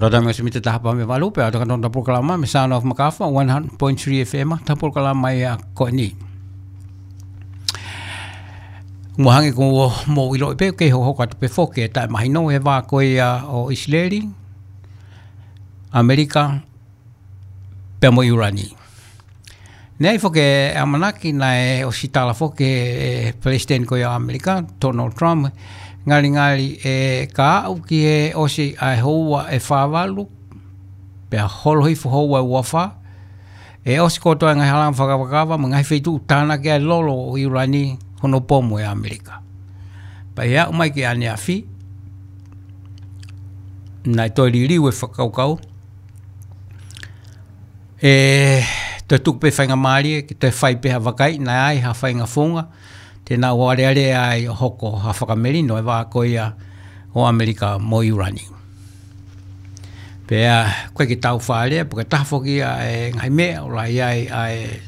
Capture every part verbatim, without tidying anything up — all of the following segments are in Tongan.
Lota me simite taha pea mo e valu pea ʻo takanotau polokalama mei he Sound of Makafa, one hundred point three F M, taha polokalama ia ko eni. Mo hangē ko hoʻomou ʻiloʻi pē, kei hokohoko atu pē foki e taʻemahino he vā ko ia ʻo ʻIsileli, ʻAmelika, pea mo ʻIulani. Naʻe ʻi ai foki e ʻamanaki naʻe ʻosi tala foki ʻe he Palesiteni ko ia ʻo ʻAmelika, Donald Trump, ngalingali ʻe ka aʻu ki he ʻosi ʻa e houa ʻe fā valu, pea holo hifo houa ʻe ua fā, ʻe ʻosi kotoa e ngaahi halanga fakakavakava, mo e ngaahi feituʻu tānaki ai e lolo ʻo ʻIulani hono pomu ʻe ʻAmelika. Pea ʻi he aʻu mai ki ʻaneafi, naʻe toe liliu e fakakaukau, ʻe toe tuku pē faingamālie ke toe fai pē ha vakai, naʻe ʻi ai ha faʻahinga founga te nau alealea ai ʻo hoko ha fakamelino e vā ko ia ʻo ʻAmelika mo ʻIulani. Pea ʻoku ʻikai ke tau faʻa lea, pe ko e taha foki ia e ngaahi meʻa ʻoku lahi ai ʻa e,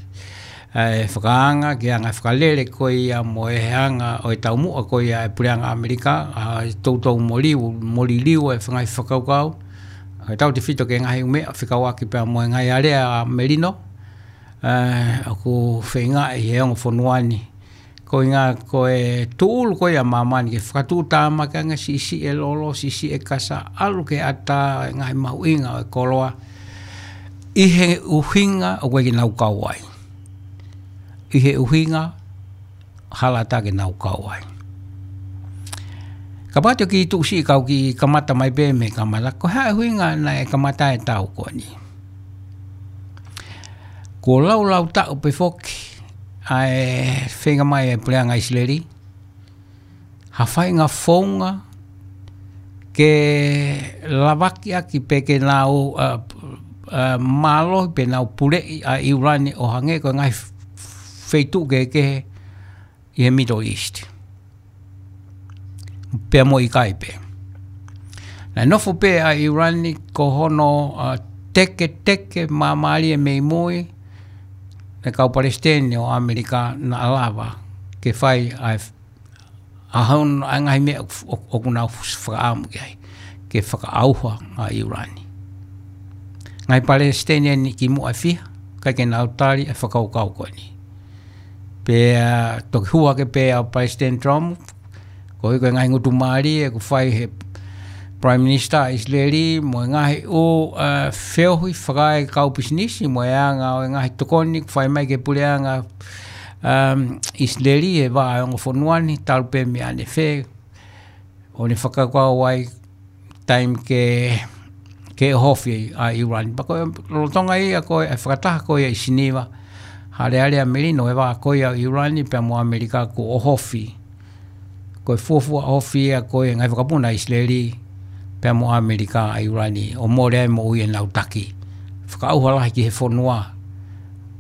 ʻa e fakaanga, ke anga fakalele ko ia mo e anga ʻo e taumuʻa ko ia e puleʻanga ʻAmelika, ʻa e toutou moliu, moliliu e ngaahi fakakaukau, ʻa e tautefito ki he ngaahi meʻa fekauʻaki pea mo e ngaahi alea melino, ʻa, ʻoku feingaʻi he ongo fonua ni. Ko e ʻuhinga ko e tūʻulu ko ia ʻa māmani ke fakatuʻutāmaki ange, siʻisiʻi e lolo, siʻisiʻi e kasa, ʻalu ki he ʻatā e ngaahi mahuʻinga ʻo e koloa. ʻI he ʻuhinga ʻoku ʻikai ke nau kau ai. ʻI he ʻuhinga hala ʻatā ke nau kau ai. Kapau te u kiʻi tuʻu siʻi kau kiʻi kamata mai pē mei he kamata, ko e hā e ʻuhinga naʻe kamata e tau ko eni. Kuo laulau taʻu pē foki ʻa e feinga mai e puleʻanga ʻIsileli ha faʻahinga founga ke lavakiʻaki pe ke nau, ʻa, ʻa, mālohi pe nau puleʻi ʻa ʻIulani ʻo hangē ko e ngaahi feituʻu kehekehe ʻi he Middle East. Pea mo e ʻikai pē. Naʻe nofo pē ʻa ʻIulani ko hono, ʻa, teketeke māmālie mei mui, naʻe kau Palesiteni ʻo ʻAmelika naʻa lava ke fai ʻa e ʻa hono, ʻa e ngaahi meʻa ʻoku, ʻoku, ʻoku nau fakaʻamu ki ai, ke fakaʻauha ʻa ʻIulani. Ngaahi Palesiteni eni kimuʻa ʻe fiha, ʻikai ke nau tali e fakakaukau ko eni. Pea toki hū hake pē ʻa Palesiteni Trump, koeʻuhi ko e ngaahi ngutu mālie ʻoku fai he Prime Minister ʻa ʻIsileli, mo e ngaahi ʻū, ʻa, feohi fakaekau pisinisi, mo e anga ʻo e ngaahi tokoni ʻoku fai mai ki he puleʻanga, um, ʻIsileli he vā ʻo e ongo fonua ni, talu pē mei ʻanefē, ʻo ne fakakaukau ai taimi ke, ke ʻohofi ʻa ʻIulani. Pea ko e lolotonga ia ko e fakataha ko ia ʻi Siniva, ha alea melino e vā ko ia ʻo ʻIulani pea mo ʻAmelika kuo ʻohofi. Ko e fuofua ʻohofi ia ko e ngaahi vakapuna ʻa ʻIsileli pea mo ʻAmelika ʻa ʻIulani, ʻo mole ai moʻui ʻenau taki. Fakaʻauha lahi ki he fonua.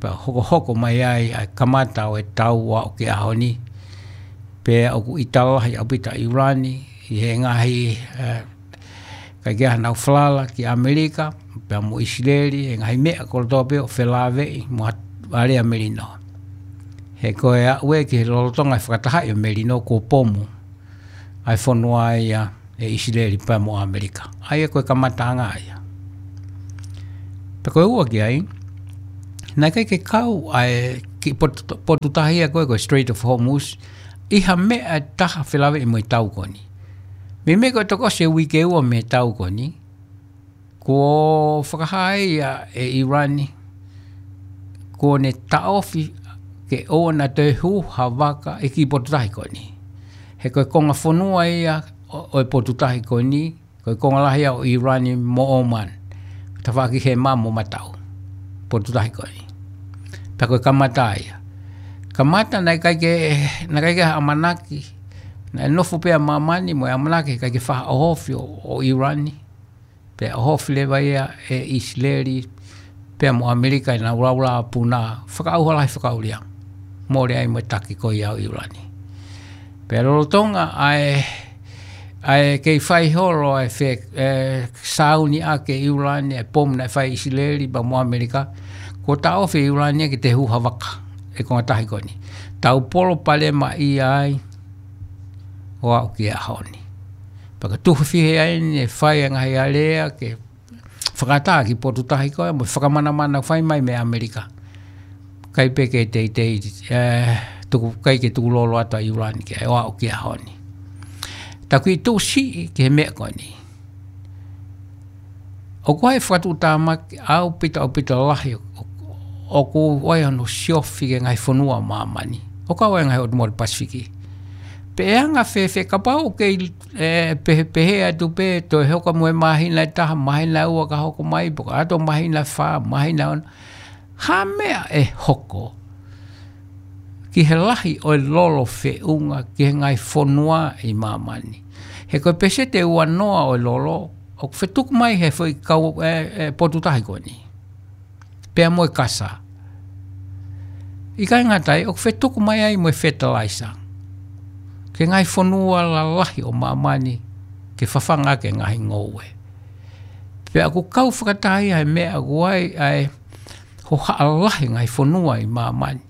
Pea hokohoko mai ai ʻa e kamata ʻo e tau ʻo aʻu ki he ʻaho ni. Pea ʻoku ʻita lahi ʻaupito ʻa ʻIulani ʻi he ngaahi, ʻe, ʻikai ke ʻi ai hanau falala ki ʻAmelika pea mo ʻIsileli, he ngaahi meʻa kotoa pē ʻoku felāveʻi mo ha alea melino. He ko e aʻu ē ki he lolotonga e fakatahaʻi ʻo e melino kuo pomu ʻa e fonua ia ʻe ʻIsileli pea mo ʻAmelika. ʻA ia ko e kamataʻanga ia. Pea ko e ua ki ai, naʻe ʻikai ke kau ʻa e kiʻi potu, potu tahi ia ko e, ko e Strait of Hormuz, ʻi ha meʻa ʻe taha felāveʻi mo e tau ko eni. Meimei ko e toki ʻosi e uike ua mei he tau ko eni, kuo fakahā ia ʻe ʻIulani, kuo ne taʻofi ke ʻoua naʻa toe hū ha vaka ʻi he kiʻi potu tahi ko eni. He ko e konga fonua ia ʻo, ʻo e potu tahi ko eni, ko e konga lahi ia ʻo ʻIulani mo ʻOman. Tafaʻaki he mamo mataʻu. Potu tahi ko eni. Pea ko e kamata ia. Kamata naʻe ʻikai ke, naʻe ʻikai ke ʻamanaki. Naʻe nofo pē ʻa māmani mo e ʻamanaki ʻikai ke faʻa ʻohofi ʻo, ʻo ʻIulani. Pea ʻohofi leva ia ʻe ʻIsileli, pea mo ʻAmelika ʻenau laulā puna, fakaʻauha lahi fakaʻuliʻanga. Mole ai mo e taki ko ia ʻo ʻIulani. Pea lolotonga ʻa e, ʻa e kei fai holo ʻa e fe, ʻe, sāuni ʻaki ʻe ʻIulani ʻa e pomu naʻe fai ʻe ʻIsileli pea mo ʻAmelika, kuo taʻofi ʻe ʻIulani ia ke toe hū ha vaka ʻi he konga tahi ko eni. Tau palopalemaʻia ai ʻo aʻu ki he ʻaho ni. Pea ka tuhu fihi ai ne fai ʻa e ngaahi alea ke fakaʻatā ki he potu tahi ko ē, mo e fakamanamana fai mai mei ʻAmelika. ʻIkai pē ke teitei, eh, tuku, ʻikai ke tukulolo atu ʻa ʻIulani ki ai, ʻo aʻu ki he ʻaho ni. Taku ʻi tuʻu siʻi ki he meʻa ko eni. ʻOku ʻi ai e fakatuʻutāmaki ʻaupito, ʻaupito lahi ʻo, ʻoku ʻi ai hono siofi ki he ngaahi fonua ʻo māmani. ʻO kau ai e ngaahi ʻotu motu Pasifiki. Pe ʻe anga fēfē kapau ʻoku kei, eh, pe-, pehē atu pē toe hoko mo e māhina ʻe taha, māhina ʻe ua ka hoko mai, pe ko e ʻato māhina ʻe fā, māhina ʻe ono. Ha meʻa ʻe hoko ki he lahi ʻo e lolo feʻunga ki he ngaahi fonua ʻi māmani. He ko e peseti ʻe ua noa ʻo e lolo, ʻoku fetuku mai he foʻi kau, eh, eh, potu tahi ko eni. Pea mo e kasa. ʻIkai ngata ai, ʻoku fetuku mai ai mo e fertilizer. Ki he ngaahi fonua lalahi ʻo māmani, ke fafanga ki he ngaahi ngoue. Pea ʻoku kau fakataha ia he meʻa ʻoku ʻi ai, ʻa e hohaʻa lahi e ngaahi fonua ʻi māmani.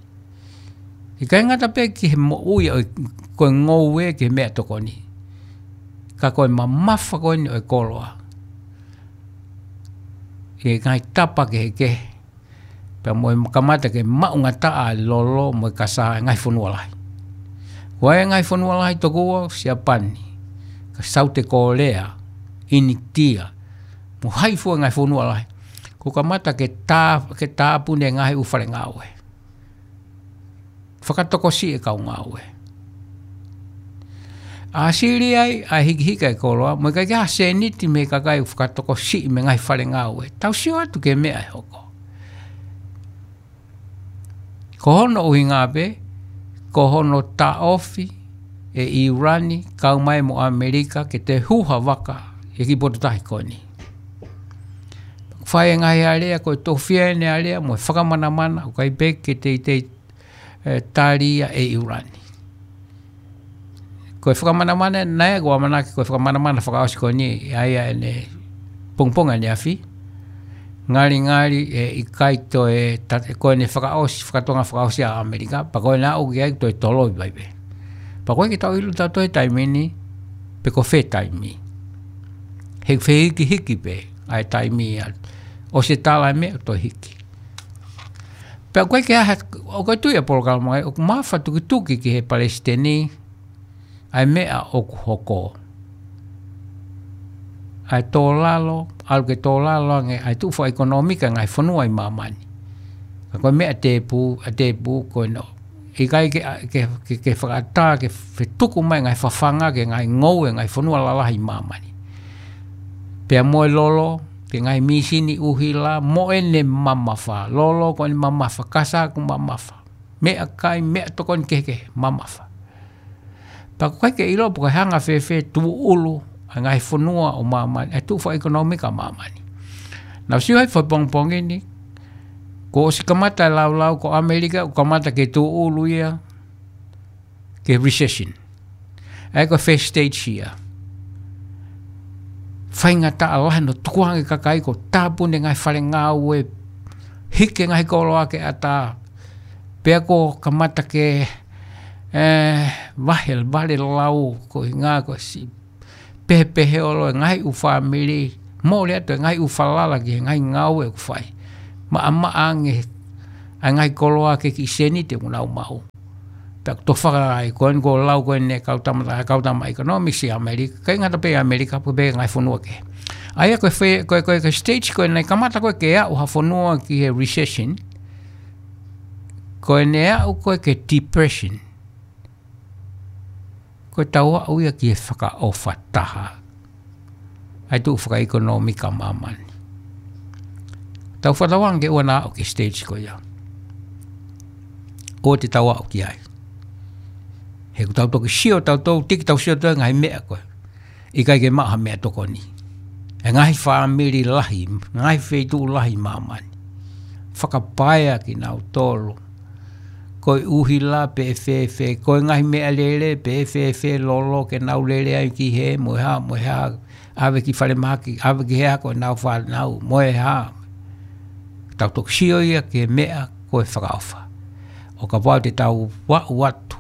ʻIkai ngata pē ki he moʻui ʻo e, ko e ngoue ki he meʻatokoni. Ka ko e mamafa ko eni ʻo e koloa. ʻI he ngaahi tapa kehekehe. Pea mo e kamata ke maʻungataʻa e lolo mo e kasa e ngaahi fonua lahi. Ko e ngaahi fonua lahi tokua, Siapani, ka Saute Kolea, ʻInitia, mo hai fua e ngaahi fonua lahi. Ko e kamata ke tā, ke tāpuni e ngaahi ʻū fale ngāue. Fakatokosiʻi e kau ngāue. ʻA sili ai, ʻa e hikihiki e koloa, mo e ʻikai ke ʻi ai ha sēniti mei he kakai ʻoku fakatokosiʻi mei he ngaahi fale ngāue. Tau sio atu ki he meʻa ʻe hoko. Ko hono ʻuhinga pē, ko hono taʻofi ʻe ʻIulani, kau mai mo ʻAmelika, ke toe hū ha vaka, ʻi he kiʻi potu tahi ko eni. Fai e ngaahi alea, ko e tofiʻa ʻene alea, mo e fakamanamana, ʻoku ʻikai pē ke teitei, eh, tali ia ʻe ʻIulani. Ko e fakamanamana, naʻe ʻoku ou ʻamanaki ko e fakamanamana fakaʻosi ko eni, ʻa ia ʻene pongipongi ʻaneafi. Ngalingali ʻe ʻikai toe, ta-, ko ʻene fakaʻosi, fakatonga fakaʻosi ʻa ʻAmelika, pea ko ʻene aʻu ki ai toe toloi pē. Pea ʻoku ʻikai ke tau ʻilo tautolu he taimi ni, pe ko fē taimi. He fehikihiki pē, ʻa e taimi ia. ʻOsi e tala e meʻa toe hiki. Pea ʻoku ʻikai ke ʻi ai ha, ʻoku ʻi ai e tui ʻa e polokalama, ʻoku mafatukituki ki he palesiteni, ʻa e meʻa ʻoku hoko. ʻA e tō lalo, ʻalu ke tō lalo ange, ʻa e tuʻu fakaʻekonōmika e ngaahi fonua ʻi māmani. Ka ko e meʻa tēpū, ʻa tēpū ko ena. ʻIkai ke, ke, ke, ke fakaʻatā, ke fetuku mai e ngaahi fafanga, ki he ngaahi ngoue, ngaahi fonua lalahi ʻi māmani. Pea mo e lolo, ki he ngaahi mīsini ʻuhila, mo ʻene mamafa. Lolo ko ʻene mamafa, kasa ʻoku mamafa. Meʻakai, meʻatokoni kehekehe, mamafa. Pea ʻoku ʻikai ke ʻilo pe ko e anga fēfē tūʻulu ʻa e ngaahi fonua ʻo māmani, ʻa e tuʻu fakaʻekonōmika ʻo māmani. Naʻa ku sio ai he pongipongi ni, kuo ʻosi kamata e laulau ko ʻAmelika, ʻoku kamata ke tūʻulu ia ki he recession. ʻA ia ko e first stage ia. Faingataʻa lahi hono tukuange e kakai, kuo tāpuni e ngaahi fale ngāue, hiki e ngaahi koloa ki he ʻatā. Pea kuo kamata ke, eh, vahe, vale lau, ko e ʻuhinga ko e siʻi pehepeheholo e ngaahi ʻū fāmili, mole atu e ngaahi ʻū falala ki he ngaahi ngāue ʻoku fai. Maʻamaʻa ange ʻa e ngaahi koloa ki he kiʻi sēniti ʻoku nau maʻu. Pea ʻoku tofanga ai, ko eni ʻoku lau ko eni e kau tama, kau tama economics ʻi ʻAmelika, ʻikai ngata pē ʻi ʻAmelika, pea pehē ki he ngaahi fonua kehe. ʻA ia ko e fe-, ko e, ko e, ko e stage ko ē naʻe kamata ko ē ke aʻu ha fonua ki he recession, ko ʻene aʻu ko ē ki he depression. Ko e tau aʻu ia ki he fakaʻofa taha. ʻA e tuʻu fakaʻekonōmika ʻo māmani. Tau fakatauange ke ʻoua naʻa aʻu ki he stage ko ia. ʻOua te tau aʻu ki ai. He ʻoku tau toki sio, tau tau tiki, tau sio atu e ngaahi meʻa ko ē. ʻIkai ke maʻu ha meʻatokoni. E ngaahi fāmili lahi, ngaahi feituʻu lahi ʻi māmani. Fakapaea kinautolu. Ko e ʻuhila pe ʻe fēfē, ko e ngaahi meʻalele pe ʻe fēfē, lolo ke nau lele ai ki hē, mo e hā, mo e hā, ʻave ki falemahaki, ʻave ki hē ko ʻenau fānau, mo e hā. Tau toki sio ia ki he meʻa ko e fakaʻofa. ʻO kapau te tau aʻu atu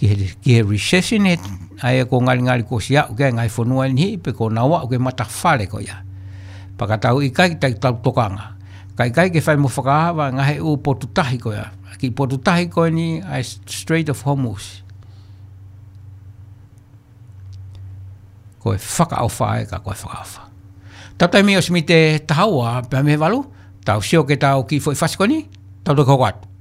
ki he, ki he recession ē, ʻa ia ʻoku ngalingali kuo ʻosi aʻu ki ai e ngaahi fonua ʻe niʻihi pe kuo nau aʻu ki he matafale ko ia. Pea ka tau ʻikai ke tau tokanga, ka ʻikai ke fai mo fakaava ngaahi ʻū potu tahi ko ia. Ki potu tahi ko eni ʻa e Strait of Hormuz. Ko e fakaʻofa ē, ka ko e fakaʻofa. Tau taimi ʻosi mite taha ua pea mei he valu, tau sio ki heʻetau kiʻi foʻi fasi ko eni, tau toki hoko atu.